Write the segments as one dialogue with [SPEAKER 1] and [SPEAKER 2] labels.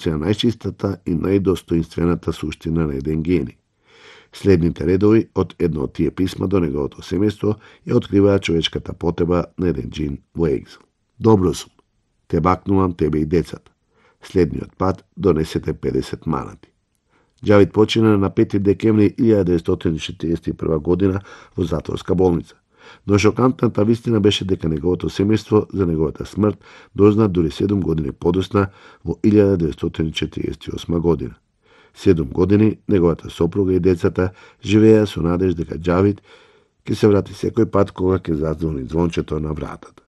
[SPEAKER 1] се најчистата и најдостоинствената суштина на еден гений. Следните редови од едно од тие писма до неговото семејство ја откриваат човечката потреба на еден џин во екзил. Добро сум, те бакнувам тебе и децата. Следниот пат донесете 50 манати. Џавид почина на 5 декември 1941 година во затворска болница. Но шокантната вистина беше дека неговото семејство за неговата смрт дозна дури 7 години подосна во 1948 година. 7 години неговата сопруга и децата живееа со надеж дека Џавид ќе се врати секој пат кога ќе зазвони звончето на вратата.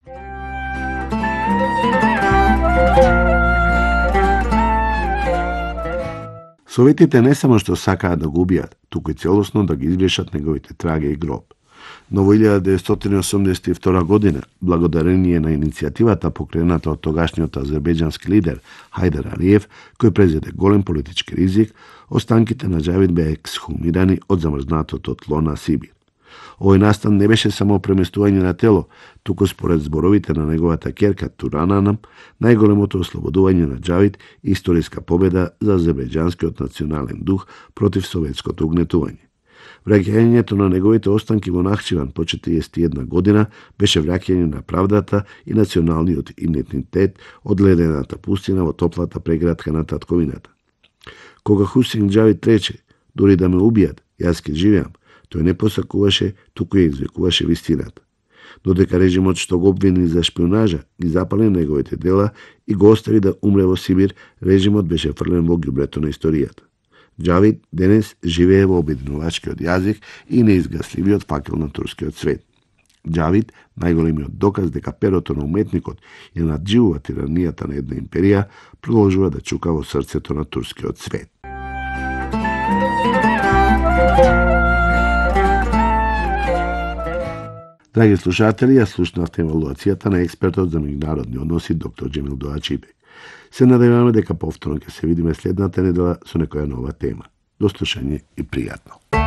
[SPEAKER 1] Советите не само што сакаат да го убијат, туку и целосно да ги избришат неговите траги и гроб. Но во 1982 година, благодарение на иницијативата покрената од тогашниот азербејџански лидер Хајдар Алиев, кој презеде голем политички ризик, останките на Џавид беа ексхумирани од замрзнатото тло на Сибир. Овој настан не беше само преместување на тело, туку според зборовите на неговата ќерка Турананам, најголемото ослободување на Џавид и историска победа за азербејџанскиот национален дух против советското угнетување. Враќањето на неговите останки во Нахчиван по 41 година беше враќање на правдата и националниот идентитет од ледената пустина во топлата преградка на татковината. Кога Хусейн Џавид рече, дури да ме убијат, јас ќе живеам, тој не посакуваше, туку ја извикуваше вистината. Додека режимот што го обвини за шпионажа, ги запали неговите дела и го остави да умре во Сибир, режимот беше фрлен во ѓубрето на историјата. Џавид денес живее во обединувачкиот јазик и неизгасливиот факел на турскиот свет. Џавид, најголемиот доказ дека перото на уметникот ја надживува тиранијата на една империја, продолжува да чука во срцето на турскиот свет. Драги слушатели, ја слушнавте евалуацијата на експертот за меѓународни односи доктор Џемил Доачибек. Се надеваме дека повторно ќе се видиме следната недела со некоја нова тема. До слушање и пријатно.